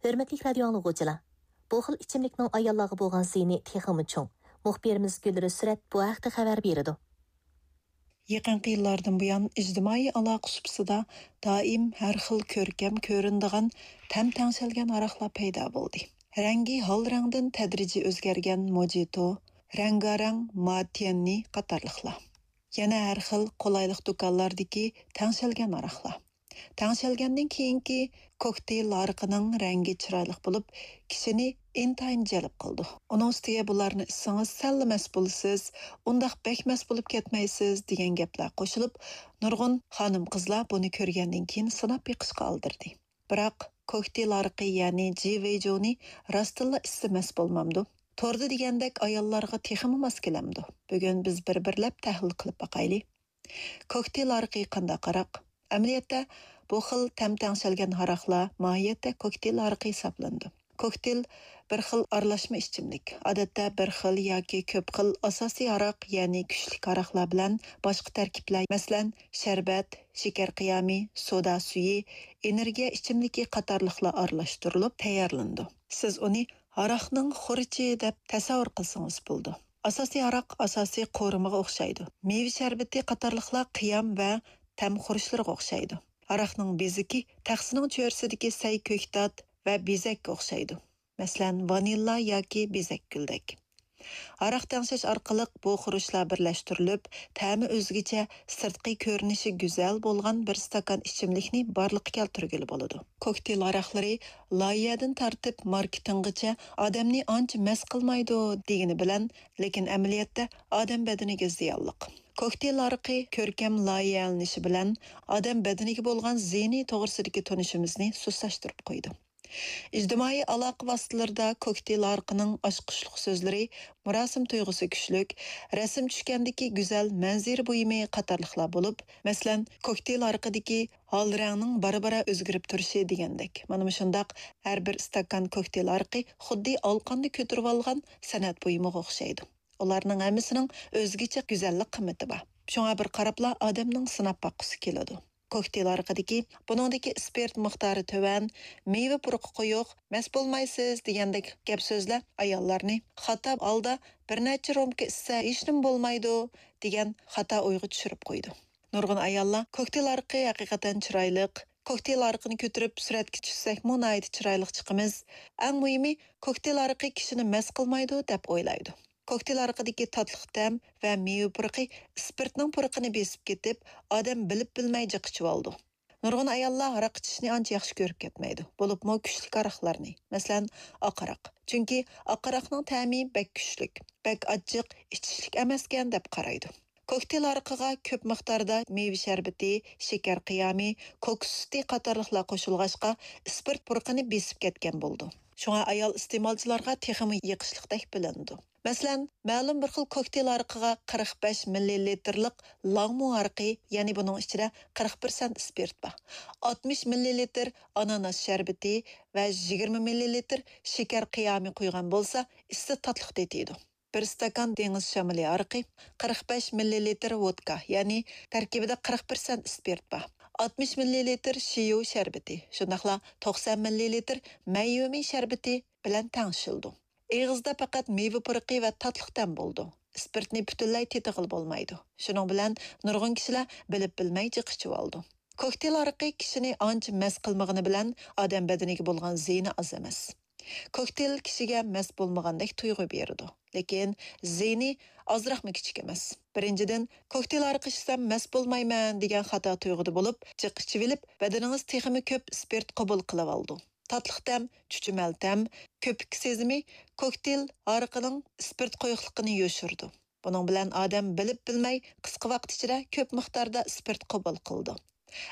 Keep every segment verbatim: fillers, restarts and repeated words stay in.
ھۆرمەتلىك رادىيو ئاڭلىغۇچىلار، بۇ خىل ئىچىملىكنىڭ ئاياللارغا بولغان زىيىنى تېخىمۇ چوڭ. مۇخبىرىمىز گۈلرۈس سۈرەت بۇ ھەقتە خەۋەر بېرىدۇ. يېقىنقى يىللاردىن بۇيان ئىجتىمائىي ئالاقە سۇپىسىدا دائىم ھەر خىل كۆركەم كۆرۈنىدىغان تەم تەڭشەلگەن ھاراقلار پەيدا بولدى. رەڭگى ھال رەڭدىن تەدرىجىي ئۆزگەرگەن موجىتو، رەڭگارەڭ ماتيەننى قاتارلىقلار. يەنە ھەر خىل قولايلىق دۇكانلاردىكى تەڭشەلگەن ھاراقلار. تەڭشەلگەندىن كېيىنكى كوكتېيل ھارىقىنىڭ رەڭگى چىرايلىق بولۇپ، كىشىنى ئىنتايىن جەلپ قىلىدۇ. ئۇنىڭ ئۈستىگە بۇلارنى ئىچسىڭىز سەللا مەست بولىسىز، ئۇنداق بەك مەست بولۇپ كەتمەيسىز دېگەن گەپلەر قوشۇلۇپ، نۇرغۇن خانىم-قىزلار بۇنى كۆرگەندىن كېيىن سىناپ بېقىشقا ئالدىردى. بىراق كوكتېيل ھارىقى، يەنى جى ۋېيجۇنى راستتىنلا ئىچسە مەست بولمامدۇ؟ توردا دېگەندەك ئاياللارغا تېخىمۇ ماس كېلەمدۇ؟ بۈگۈن بىز بىر-بىرلەپ تەھلىل قىلىپ باقايلى. كوكتېيل ھارىقى قانداق ھاراق؟ ئەمەلىيەتتە، بۇ خىل تەم تەڭشەلگەن ھاراقلار ماھىيەتتە كوكتېيل ھارىقى ھېسابلىنىدۇ. كوكتېيل بىر خىل ئارىلاشما ئىچىملىك. ئادەتتە بىر خىل ياكى كۆپ خىل ئاساسىي ھاراق، يەنى كۈچلۈك ھاراقلار بىلەن باشقا تەركىبلەر، مەسىلەن، شەربەت، شېكەر قىيامى، سودا سۈيى، ئېنېرگىيە ئىچىملىكى قاتارلىقلار ئارىلاشتۇرۇلۇپ تەييارلىنىدۇ. سىز ئۇنى ھاراقنىڭ خۇرۇچى دەپ تەسەۋۋۇر قىلسىڭىز بولىدۇ. ئاساسىي ھاراق ئاساسىي قورۇمىغا ئوخشايدۇ. مېۋە شەربىتى قاتارلىقلار قىيام ۋە تەم خۇرۇچلىرىغا ئوخشايدۇ. ھاراقنىڭ بېزىكى تەخسىنىڭ چۆرىسىدىكى سەي كۆكتات ۋە بېزەككە ئوخشايدۇ. مەسىلەن، ۋانىللا ياكى بېزەك گۈلدەك. ھاراق تەڭشەش ئارقىلىق بۇ خۇرۇچلار بىرلەشتۈرۈلۈپ، تەمى ئۆزگىچە، سىرتقى كۆرۈنۈشى گۈزەل بولغان بىر ئىستاكان ئىچىملىكنى بارلىققا كەلتۈرگىلى بولىدۇ. كوكتېيل ھاراقلىرى لايىھەدىن تارتىپ ماركېتىنغىچە ئادەمنى ئانچە مەست قىلمايدۇ دېگىنى بىلەن، لېكىن ئەمەلىيەتتە ئادەم بەدىنىگە زىيانلىق. كوكتېيل ھارىقى كۆركەم لايىھەلىنىشى بىلەن ئادەم بەدىنىگە بولغان زىيىنى توغرىسىدىكى تونۇشىمىزنى سۇسلاشتۇرۇپ قويدى. ئىجتىمائىي ئالاقە ۋاسىتىلىرىدا كوكتېيل ھارىقىنىڭ ئاچقۇچلۇق سۆزلىرى، مۇراسىم تۇيغۇسى كۈچلۈك، رەسىم چۈشكەندىكى گۈزەل مەنزىرە بۇيۇمى قاتارلىقلار بولۇپ، مەسىلەن، كوكتېيل ھارىقىدىكى ھال رەڭنىڭ بارا-بارا ئۆزگىرىپ تۇرۇشى دېگەندەك. مانا مۇشۇنداق ھەر بىر ئىستاكان كوكتېيل ھارىقى خۇددى ئالىقاندا كۆتۈرۈۋالغان سەنئەت بۇيۇمىغا ئوخشايدۇ. ئۇلارنىڭ ھەممىسىنىڭ ئۆزگىچە گۈزەللىك قىممىتى بار. شۇڭا بىر قاراپلا ئادەمنىڭ سىناپ باققۇسى كېلىدۇ. كوكتېيل ھارىقىدىكى، بۇنىڭدىكى ئىسپىرت مىقدارى تۆۋەن، مېۋە پۇرىقى قويۇق، مەست بولمايسىز دېگەندەك گەپ سۆزلەر ئاياللارنى خاتا ھالدا بىر نەچچە رومكا ئىچسە ھېچنېمە بولمايدۇ دېگەن خاتا ئويغا چۈشۈرۈپ قويىدۇ. نۇرغۇن ئاياللار كوكتېيل ھارىقى ھەقىقەتەن چىرايلىق، كوكتېيل ھارىقىنى كۆتۈرۈپ سۈرەتكە چۈشسەكمۇ ناھايىتى چىرايلىق چىقىمىز، ئەڭ مۇھىمى كوكتېيل ھارىقى كىشىنى مەست قىلمايدۇ دەپ ئويلايدۇ. كوكتېيل ھارىقىدىكى تاتلىق تەم ۋە مېۋە پۇرىقى ئىسپىرتنىڭ پۇرىقىنى بېسىپ كېتىپ، ئادەم بىلىپ بىلمەي جىق ئىچىۋالىدۇ. نۇرغۇن ئاياللار ھاراق ئىچىشنى ئانچە ياخشى كۆرۈپ كەتمەيدۇ، بولۇپمۇ كۈچلۈك ھاراقلارنى، مەسىلەن، ئاق ھاراق. چۈنكى ئاق ھاراقنىڭ تەمى بەك كۈچلۈك، بەك ئاچچىق، ئىچىشلىك ئەمەسكەن دەپ قارايدۇ. كوكتېيل ھارىقىغا كۆپ مىقداردا مېۋە شەربىتى، شېكەر قىيامى، كوكۇس سۈتى قاتارلىقلار قوشۇلغاچقا، ئىسپىرت پۇرىقىنى بېسىپ كەتكەن بولىدۇ. شۇڭا ئايال ئىستېمالچىلارغا تېخىمۇ يېقىشلىقتەك بىلىنىدۇ. مەسىلەن، مەلۇم بىر خىل كوكتېيل ھارىقىغا قىرىق بەش مىللىلىتىرلىق لانگمۇ ھارىقى، يەنى بۇنىڭ ئىچىدە قىرىق پىرسەنت ئىسپىرت بار، ئاتمىش مىللىلىتىر ئاناناس شەربىتى ۋە يىگىرمە مىللىلىتىر شېكەر قىيامى قۇيغان بولسا، ئىسسىق تاتلىق تېتىيدۇ. بىر ئىستاكان دېڭىز شامىلى ھارىقى، قىرىق بەش مىللىلىتىر ۋودكا، يەنى تەركىبىدە قىرىق پىرسەنت ئىسپىرت بار، ئاتمىش مىللىلىتىر شىيۇ شەربىتى، شۇنداقلا توقسان مىللىلىتىر مەييۈمىن شەربىتى بىلەن تەڭشىشىلىدۇ. ئېغىزدا پەقەت مېۋە پۇرىقى ۋە تاتلىق تەم بولىدۇ. ئىسپىرتنى پۈتۈنلەي تېتىغىلى بولمايدۇ. شۇنىڭ بىلەن نۇرغۇن كىشىلەر بىلىپ بىلمەي جىق ئىچىۋالىدۇ. كوكتېيل ھارىقى كىشىنى ئانچە مەست قىلمىغىنى بىلەن ئادەم بەدىنىگە بولغان زىيىنى ئاز ئەمەس. كوكتېيل كىشىگە مەست بولمىغاندەك تۇيغۇ بېرىدۇ، لېكىن زىيىنى ئازراقمۇ كىچىك ئەمەس. بىرىنچىدىن، كوكتېيل ھارىقى ئىچسەم مەست بولمايمەن دېگەن خاتا تۇيغۇدا بولۇپ، جىق ئىچىۋېلىپ، بەدىنىڭىز تېخىمۇ كۆپ ئىسپىرت قوبۇل قىلىۋالىدۇ. تاتلىق تەم، چۈچۈمەل تەم، كۆپۈك سېزىمى كوكتېيل ھارىقىنىڭ ئىسپىرت قويۇقلۇقىنى يوشۇرىدۇ. بۇنىڭ بىلەن ئادەم بىلىپ بىلمەي قىسقا ۋاقىت ئىچىدە كۆپ مىقداردا ئىسپىرت قوبۇل قىلىدۇ.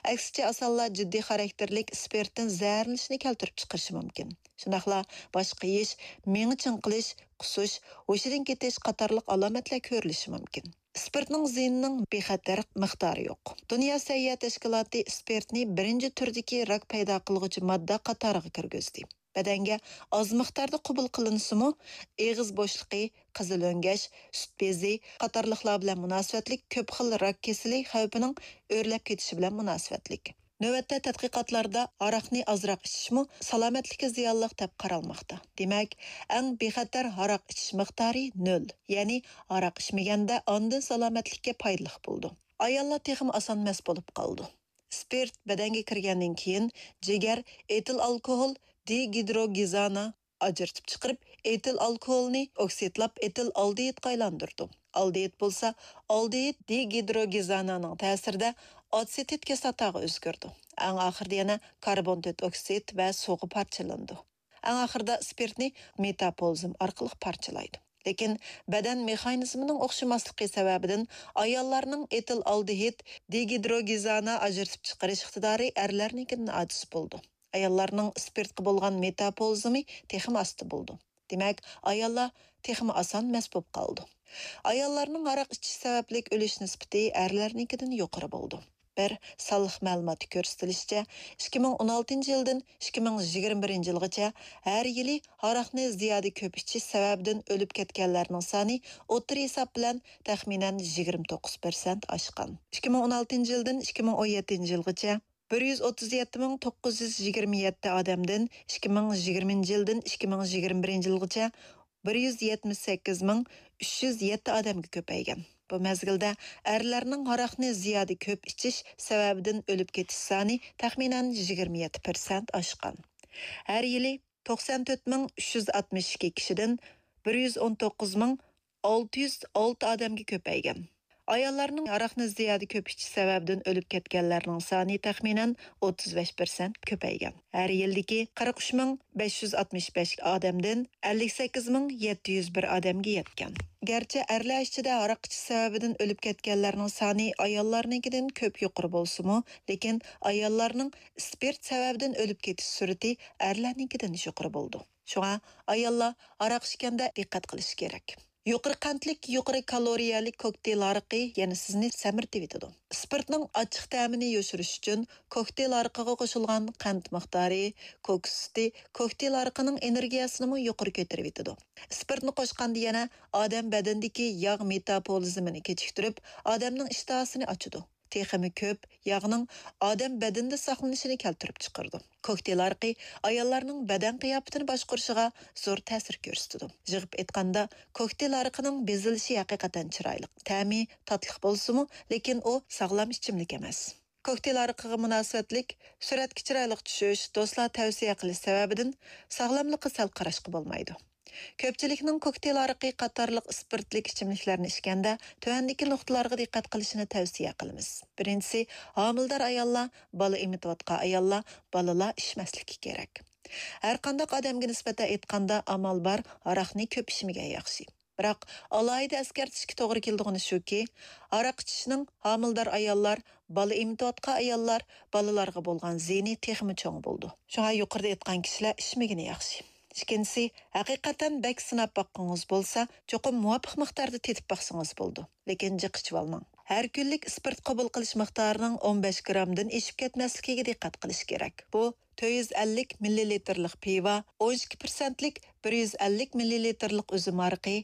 ئەكسىچە ئاسانلا جىددىي خاراكتېرلىك ئىسپىرتتىن زەھەرلىنىشنى كەلتۈرۈپ چىقىرىشى مۇمكىن. شۇنداقلا باش قېيىش، مېڭە چىڭقىلىش، قۇسۇش، ھوشىدىن كېتىش قاتارلىق ئالامەتلەر كۆرۈلۈشى مۇمكىن. ئىسپىرتنىڭ زىيىنىنىڭ بىخەتەر مىقدارى يوق. دۇنيا سەھىيە تەشكىلاتى ئىسپىرتنى بىرىنچى تۈردىكى راك پەيدا قىلغۇچى ماددا قاتارىغا كىرگۈزدى. بەدەنگە ئاز مىقداردا قوبۇل قىلىنسىمۇ، ئېغىز بوشلۇقى، قىزىل ئۆڭگەش، سۈت بېزى قاتارلىقلار بىلەن مۇناسىۋەتلىك كۆپ خىل راك كېسىلى خەۋپىنىڭ ئۆرلەپ كېتىشى بىلەن مۇناسىۋەتلىك. نۆۋەتتە تەتقىقاتلاردا ھاراقنى ئازراق ئىچىشمۇ سالامەتلىككە زىيانلىق دەپ قارالماقتا. دېمەك، ئەڭ بىخەتەر ھاراق ئىچىش مىقدارى نۆل، يەنى ھاراق ئىچمىگەندە ئاندىن سالامەتلىككە پايدىلىق بولىدۇ. ئاياللار تېخىمۇ ئاسان مەست بولۇپ قالىدۇ. سپىرت بەدەنگە كىرگەندىن كېيىن جىگەر ئېتىل ئالكوھول دېگىدروگېنازىنى ئاجرىتىپ چىقىرىپ، ئېتىل ئالكوھولنى ئوكسىدلاپ ئېتىل ئالدېھىدقا ئايلاندۇرىدۇ. ئالدېھىد بولسا ئالدېھىد دېگىدروگېنازىنىڭ تەسىرىدە ئاتسېتىت كىسلاتاغا ئۆزگىرىدۇ. ئەڭ ئاخىرىدا يەنە كاربون تۆت ئوكسىد ۋە سۇغا پارچىلىنىدۇ. ئەڭ ئاخىرىدا سپىرتنى مېتابولىزم ئارقىلىق پارچىلايدۇ. لېكىن بەدەن مېخانىزمىنىڭ ئوخشىماسلىقى سەۋەبىدىن ئاياللارنىڭ ئېتىل ئالدېھىد دېگىدروگېنازىنى ئاجرىتىپ چىقىرىش ئىقتىدارى ئەرلەرنىڭكىدىن ئاجىز بولىدۇ. ئاياللارنىڭ سپىرتقا بولغان مېتابولىزمى تېخىمۇ ئاستا بولىدۇ. دېمەك، ئاياللار تېخىمۇ ئاسان مەست بولۇپ قالىدۇ. ئاياللارنىڭ ھاراق ئىچىش سەۋەبلىك ئۆلۈش نىسبىتى ئەرلەرنىڭكىدىن يۇقىرى بولىدۇ. بىر سانلىق مەلۇماتتا كۆرسىتىلىشىچە، ئىككى مىڭ ئون ئالتىنچى يىلدىن ئىككى مىڭ يىگىرمە بىرىنچى يىلغىچە ھەر يىلى ھاراقنى زىيادە كۆپ ئىچىش سەۋەبىدىن ئۆلۈپ كەتكەنلەرنىڭ سانى ئوتتۇرا ھېساب بىلەن تەخمىنەن يىگىرمە توققۇز پىرسەنت ئاشقان. ئىككى مىڭ ئون ئالتىنچى يىلدىن ئىككى مىڭ ئون يەتتىنچى يىلغىچە بىر يۈز ئوتتۇز يەتتە مىڭ توققۇز يۈز يىگىرمە يەتتە ئادەمدىن ئىككى مىڭ يىگىرمىنچى يىلدىن ئىككى مىڭ يىگىرمە بىرىنچى يىلغىچە بىر يۈز يەتمىش سەككىز مىڭ ئۈچ يۈز يەتتە ئادەمگە كۆپەيگەن. بۇ مەزگىلدە ئەرلەرنىڭ ھاراقنى زىيادە كۆپ ئىچىش سەۋەبىدىن ئۆلۈپ كېتىش سانى تەخمىنەن يىگىرمە يەتتە پىرسەنت ئاشقان. ھەر يىلى توقسان تۆت مىڭ ئۈچ يۈز ئاتمىش ئىككى كىشىدىن بىر يۈز ئون توققۇز مىڭ ئالتە يۈز ئالتە ئادەمگە كۆپەيگەن. ئاياللارنىڭ ھاراقنى زىيادە كۆپ ئىچىش سەۋەبىدىن ئۆلۈپ كەتكەنلەرنىڭ سانى تەخمىنەن ئوتتۇز بەش پىرسەنت كۆپەيگەن. ھەر يىلدىكى قىرىق ئۈچ مىڭ بەش يۈز ئاتمىش بەش ئادەمدىن ئەللىك سەككىز مىڭ يەتتە يۈز بىر ئادەمگە يەتكەن. گەرچە ئەرلەر ئىچىدە ھاراق ئىچىش سەۋەبىدىن ئۆلۈپ كەتكەنلەرنىڭ سانى ئاياللارنىڭكىدىن كۆپ يۇقىرى بولسىمۇ، لېكىن ئاياللارنىڭ سپىرت سەۋەبىدىن ئۆلۈپ كېتىش سۈرئىتى ئەرلەرنىڭكىدىن يۇقىرى بولىدۇ. شۇڭا ئاياللار ھاراق ئىچكەندە دىققەت قىلىشى كېرەك. يۇقىرى قەنتلىك، يۇقىرى كالورىيەلىك كوكتېيل ھارىقى يەنە سىزنى سەمرىتىۋېتىدۇ. سپىرتنىڭ ئاچچىق تەمىنى يوشۇرۇش ئۈچۈن كوكتېيل ھارىقىغا قوشۇلغان قەنت مىقدارى، كوكۇس سۈتى كوكتېيل ھارىقىنىڭ ئېنېرگىيەسىنىمۇ يۇقىرى كۆتۈرۈۋېتىدۇ. سپىرتنى قوشقاندا يەنە ئادەم بەدىنىدىكى ياغ مېتابولىزمىنى كېچىكتۈرۈپ، ئادەمنىڭ ئىشتىھاسىنى ئاچىدۇ. تېخىمۇ كۆپ ياغنىڭ ئادەم بەدىنىدە ساقلىنىشىنى كەلتۈرۈپ چىقىرىدۇ. كوكتېيل ھارىقى ئاياللارنىڭ بەدەن قىياپىتىنى باشقۇرۇشىغا زور تەسىر كۆرسىتىدۇ. يىغىپ ئېيتقاندا، كوكتېيل ھارىقىنىڭ بېزىلىشى ھەقىقەتەن چىرايلىق، تەمى تاتلىق بولسىمۇ، لېكىن ئۇ ساغلام ئىچىملىك ئەمەس. كوكتېيل ھارىقىغا مۇناسىۋەتلىك سۈرەتكە چىرايلىق چۈشۈش، دوستلار تەۋسىيە قىلىش سەۋەبىدىن ساغلاملىققا سەل قاراشقا بولمايدۇ. كۆپچىلىكنىڭ كوكتېيل ھارىقى قاتارلىق ئىسپىرتلىك ئىچىملىكلەرنى ئىچكەندە تۆۋەندىكى نۇقتىلارغا دىققەت قىلىشىنى تەۋسىيە قىلىمىز. بىرىنچىسى، ھامىلىدار ئاياللار، بالا ئېمىتىۋاتقان ئاياللار، بالىلار ئىچمەسلىكى كېرەك. ھەرقانداق ئادەمگە نىسبەتەن ئېيتقاندا، ئامال بار ھاراقنى كۆپ ئىچمىگەن ياخشى. بىراق، ئالاھىدە ئەسكەرتىشكە توغرا كېلىدىغىنى شۇكى، ھاراق ئىچىشنىڭ ھامىلىدار ئاياللار، بالا ئېمىتىۋاتقان ئاياللار، بالىلارغا بولغان زىيىنى تېخىمۇ چوڭ بولىدۇ. شۇڭا يۇقىرىدا ئېيتقان كىشىلەر ئىچمىگىنى ياخشى. ئىككىنچىسى، ھەقىقەتەن بەك سىناپ باققۇڭىز بولسا، چوقۇم مۇۋاپىق مىقداردا تېتىپ باقسىڭىز بولىدۇ. لېكىن جىق ئىچىۋالماڭ. ھەر كۈنلۈك ئىسپىرت قوبۇل قىلىش مىقدارىنىڭ ئون بەش گرامدىن ئېشىپ كەتمەسلىكىگە دىققەت قىلىش كېرەك. بۇ تۆت يۈز ئەللىك مىللىلىتىرلىق پىۋا، ئون ئىككى پىرسەنتلىك بىر يۈز ئەللىك مىللىلىتىرلىق ئۈزۈم ھارىقى،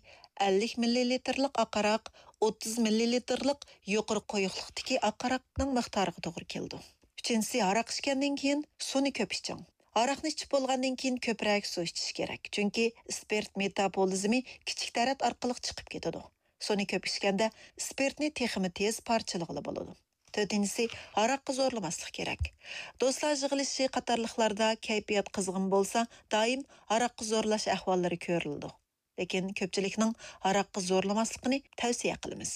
ئەللىك مىللىلىتىرلىق ئاق ھاراق، ئوتتۇز مىللىلىتىرلىق يۇقىرى قويۇقلۇقتىكى ئاق ھاراقنىڭ مىقدارىغا توغرا كېلىدۇ. ئۈچىنچىسى، ھاراق ئىچكەندىن كېيىن سۇنى كۆپ ئىچىڭ. ھاراقنى ئىچىپ بولغاندىن كېيىن كۆپرەك سۇ ئىچىش كېرەك، چۈنكى ئىسپىرت مېتابولىزمى كىچىك تەرەت ئارقىلىق چىقىپ كېتىدۇ. سۇنى كۆپ ئىچكەندە ئىسپىرتنى تېخىمۇ تېز پارچىلىغىلى بولىدۇ. تۆتىنچىسى، ھاراققا زورلىماسلىق كېرەك. دوستلار يىغىلىشى قاتارلىقلاردا كەيپىيات قىزغىن بولسا، دائىم ھاراققا زورلاش ئەھۋاللىرى كۆرۈلىدۇ. لېكىن كۆپچىلىكنىڭ ھاراققا زورلىماسلىقىنى تەۋسىيە قىلىمىز.